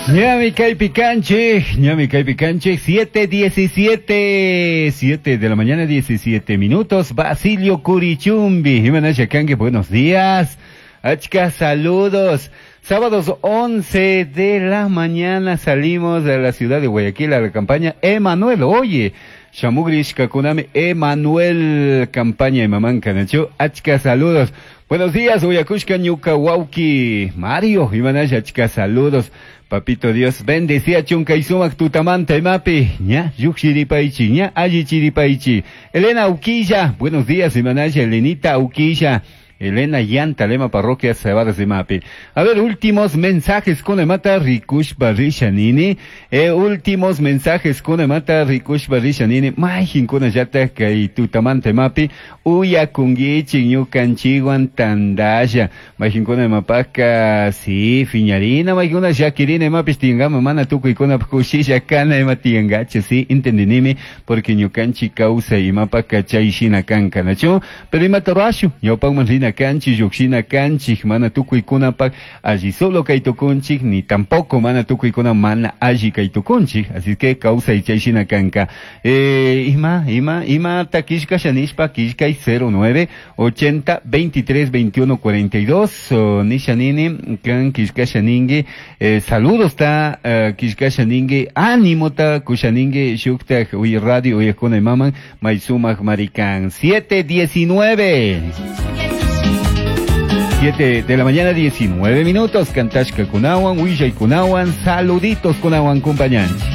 Ñami kaypi kanchik, ñami kaypi kanchik, 7:17, 7 de la mañana, 17 minutos. Basilio Curichumbi, Jiménez Kangue, buenos días. Achka, saludos. Sábados 11 de la mañana salimos de la ciudad de Guayaquil a la campaña Emanuel. Oye, Shamugrish Kakunami Emanuel, campaña de Mamán Kanachu. Achka, saludos. Buenos días, Uyakushka Ñuka Wauki. Mario, Imanaya, achka, saludos. Papito Dios, bendecía chunka y tutamanta imapi. Ña, yuxiripaichi, ña, allichiripaichi. Elena Uquilla, buenos días, Imanaya, Elenita Uquilla. Elena Yanta, Lema Parroquia Cebadas de Mapi. A ver, últimos mensajes con Emata Rikush Barrisha Nini. Últimos mensajes con Emata Rikush Barrisha Nini. Majin kuna yata kay tutamante mapi. Uya kungichi ñukanchiwan tandaya. Majin kuna mapaka, sí, fiñarina, majin kuna shakirina mapis tingama mana tukuy kuna kushisha kana ima tiangache, sí, entendinimi, porque ñukanchi causa imapaka chay shina kankanachu. Pero imata rashu, ñawpakman rina kanchik, lluqshina kanchik, mana tukuykunapak alli solo kay tukunchik, ni tampoco mana tukuykuna mana alli kay tukunchik, así que kawsay chay shina kanka. Ima, ima, ima ta killkasha nishpa, killkay 09 80 23 21 42, oh, nisha nini, kan killkasha ningi, saludos ta, killkasha ningi, ánimo ta kusha ningi, shuktak uy radio uyakuna imaman, may sumak marikan. 7:19. 7 de la mañana, 19 minutos. Cantashka kunawan, Huillay kunawan, saluditos kunawan, compañanchi.